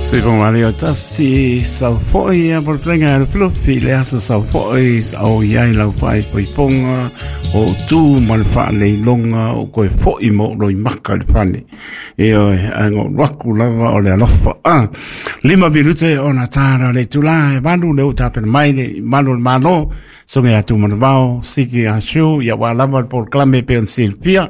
Sifonga tasi sau foi a polplenga le flufi le aso sau foi o iai lau fai poiponga o tu ma le faaleiloga o koe fo'i ma ou loimaka i le fale. Ioe, ae na ou alu atu lava o le alofa. 5 minute ona tala le itulā e 8, le ua tapena mai le malu o le Malo, soge atu manavao siki asu ia ua lava le polokalame pe ona silafia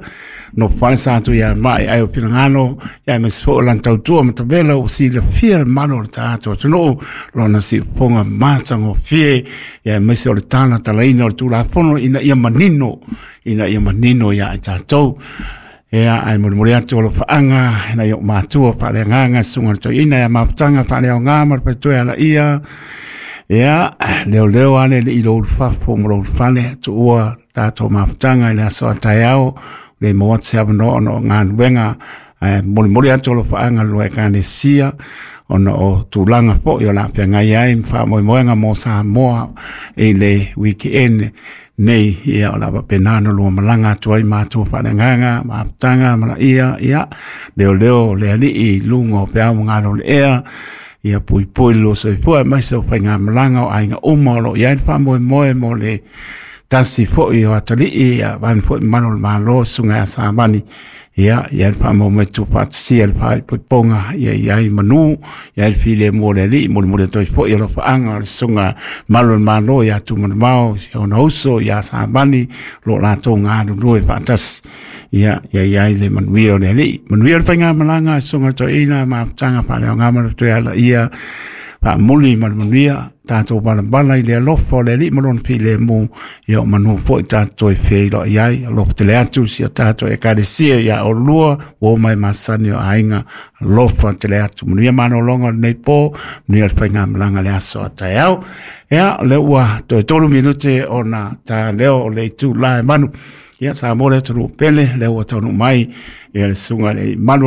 no fale sa atu ia mai ai o finagalo ia ma se fo lan tautua ma tavela o silafia le malo o le tatou atunuu lona siufofoga matagofie ia ma se o le tala talaina o le Tulafono ina ia manino, ina ia manino ia i tatou. Ia, ae molimoli atu o lofaaga na i o matua faaleagaga, susuga le toeaina ia mafutaga faaleaoga ma le faletua ala ia. Ia, leo leo ale le i lo ulufafo ma lo ulufale tuua tatou mafutaga i le aso a taeao le maua atu se avanoa ona o galuega. Ae molimoli atu o lofaaga lua Ekalesia ona o tulaga foi o le a feagai ai ma faamoemoega mo Samoa i le weekend nei. Ia, o le a faapena ona lua malaga atu ai matua faaleagaga, mafutaga ma laia. Ia, leo leo le alii i luga o peau ma galo le ea, ia puipui le lua soifua aemaise o faigamalaga o aiga uma o lo o i ai le faamoemoe mo le tasi foi o atalii ia vane foi mamalu o le Malo, susuga ia Savani. Ia, le faamoemoe tuufaatasia le faaipoipoga, ia i ai manu, ia ai le filemu o le alii. Molimoli atu ai foi alofaaga o le susuga malu o le Malo ia Tumanavao, si ona uso ia Savani, lo latou galulue faatasi. Ia i ai le manuia o le alii, manuia le faigamalaga, susuga toeaina mafutaga faaleaoga ma le toe ala ia faamuli ma le manuia. Tatou valavala i le alofa o le alii ma lona filemu, ia o manu foi tatou toe feiloai ai. Alofa tele atu si o tatou Ekalesia ia olua ua mai masani o aiga. Alofa tele atu, manuia malologa o lenei po, manuia le faigamalaga le aso a taeao. Ia, o lea ua toe 3 minute ona ta leo o le itulā e 8. Ia, Samoa le atunuu pele, lea ua taunuu mai ia le susuga i le malu o le